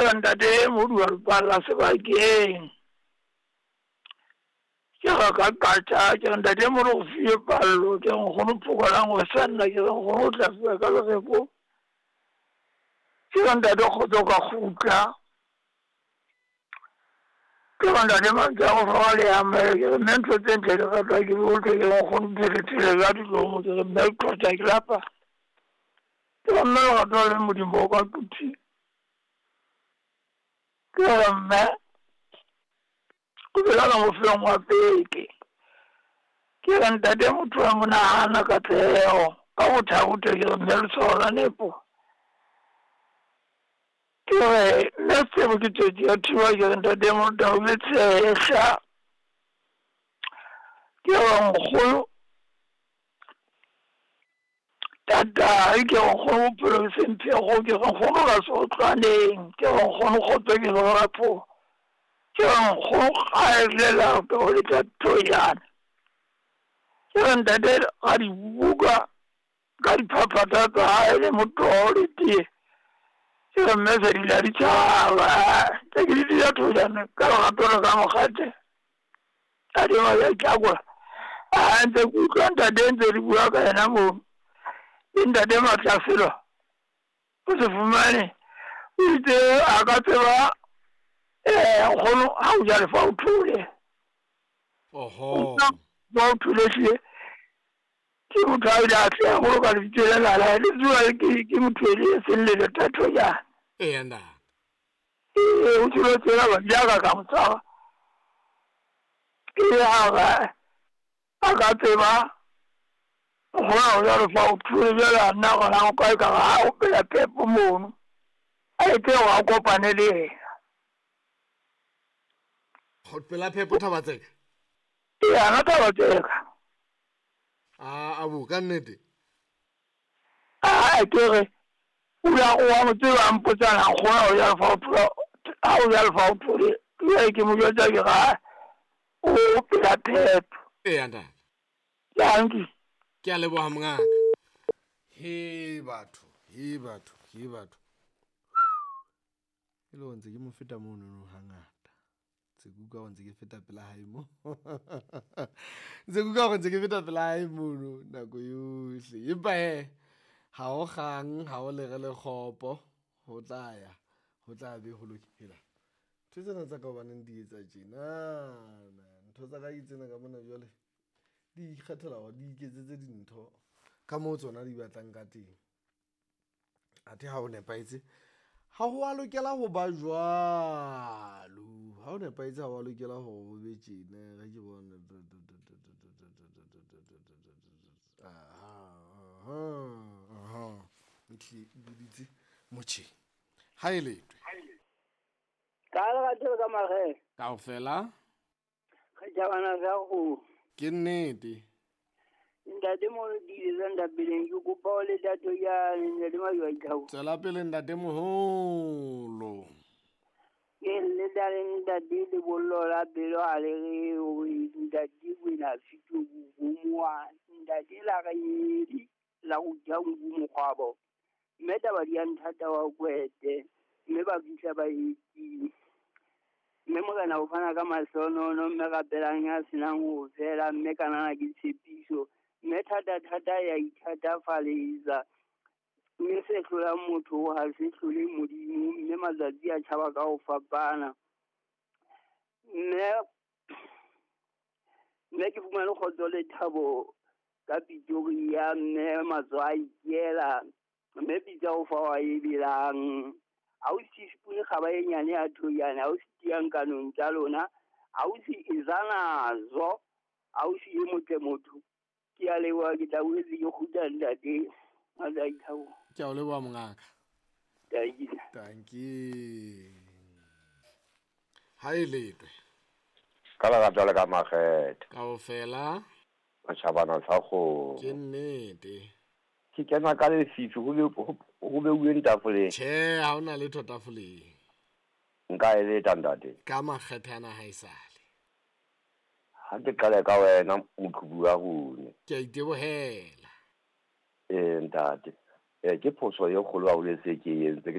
Ke re ntate Moduwa Lepalla sebakeng. Ke re ka qatha, ke re ntate Modu o fiwe pallo, ke re nkgono Phokolang o sanna, ke re nkgono o tla fiwa ka lereko. Ke re ntate kgotso ka kgutla. Ke re ntate mantswe a go le amele, ke re mme ntho tse ntle di ratwa ke bohle, ke re nkgono phelethele ka dilomo, ke re mme qotsa ke lapa. Ke re mme lerato le Modimo o ka quthi. Ke re mme o phela ka mofelong wa beke. Ke re ntate motho wa monahana katleho ka bothabotho, ke re mme letshwao la nepo. Ke re mme sebo ke tswetsi ya thiba, ke re ntate motho o be tshehla. Ke re nkgono tatae, ke re nkgono bophelo ke semphego, ke re nkgono ka seotlwaneng, ke re nkgono kgotso ke re rapho, ke re nkgono gaelela ke go letla thoyana. Ke re ntate ga dibuka ka diphaphatha tsa hae le motoho le tee, ke re mme se di la ditjhaba tse ke di dira thoyana ka lerato le ka mokgate a di ma ya tlakola. A ntse ke utlwa ntate ntse le bua ka yena mono, le ntate Matlaselo o se fumane o itse a ka tseba nkgono ha o ja lefa o thole. Oho. Ba o thole hlile. Ke motho a ile a tleha haholo ka lebitso lena la hae. Le tseba ke motho e le seng le lethatho jana. Eya ntate. Ee, o tsebe tsela ba jaaka ka mo tshwara. Ke ha a ka tseba nkgono ha o ja lefa o thole, jwale a nna gona o kae ka re ha o pela phepo mono. A etse hore a kopane le yena. Go pela phepo Thabatseka? Ee, ana Thabatseka. A bo ka nnete? A ke re o ya o wa mo tseba a mpotsana nkgono ha o ja lefa o thole, ha o ja lefa o thole. Jwale ke mo jwetsa ke re ha o pela phepo. Eya ntate. Dankie. Ke a leboha mongaka. He batho, he batho, he batho. E le hore ntse ke mo feta mono no hangata. Ntse ke utlwa hore ntse ke feta pela hae mo. Ntse ke utlwa hore ntse ke feta pela hae mono nako yohle. Empa he ha ho kgang, ha ho lere le kgopo, ho tla ya, ho tla be ho lokela. Ntho tsena tsa ka hobaneng di etsa tjena. Ntho tsa ka ke tsena ka mona jwale. Di ikgethela hore di iketsetse dintho ka moo tsona di batlang ka teng. Athe ha ho nepahetse, ha ho a lokela ho ba jwalo. Ha ho nepahetse ha ho a lokela hore ho be tjena. Re ke bone. Aha, aha. Ehlile e biditse motjheng. Ha e letwe. Ka lerato ka makgethe. Kaofela. Re tjhabana sa kgomo. Ke nnete. Ntate Moholo ke ile tsa ntapeleng, ke kopa o le tatho jane, ntate Majwa Ithabo. Tswela pele ntate Moholo. Ke le tale ntate lebollo la pelo ha le re hore ntate Kwena Fito bomoa, ntate la re nyedi la go ja nku mokgwabo. Mme taba di a nthata wa kwete, mme ba fihla ba etile. Mme morena o fana ka mahlonono, mme rapelang ya senang ho fela, mme kanana ke tshepiso. Mme thata thata ya ithatafaletsa. Mme se hlolang motho ha se hlole Modimo, mme matsatsi a tjhaba ka ho fapana. Mme ke fumane kgotso le thabo ka Pretoria, mme matsoho a ikela, mme pitsa o fa wa e belang. Ausi Spoon kgaba e nyane ya thoyane, ausi tiyang kanong tsa lona, ausi Izanazo, ausi e motle motho. Ke a leboha, ke tla boetse ke kgutla ntate. Matsatsi. Ke a o leboha mongaka. Dankie. Dankie. Ha e letwe. Ka lerato le ka makgethe. Kaofela. Matjhabana sa kgomo. Ke nnete. Ke kena ka lefifi ho beuweng tafoleng. Tjhe, ha hona letho tafoleng. Nka e leta ntate. Ka makgethe ana ha esale. Ha ke qale ka wena moqhubu wa rona. Ke a itebohela. Ntate. Ke phoso e kgolo haholo e se ke e entse.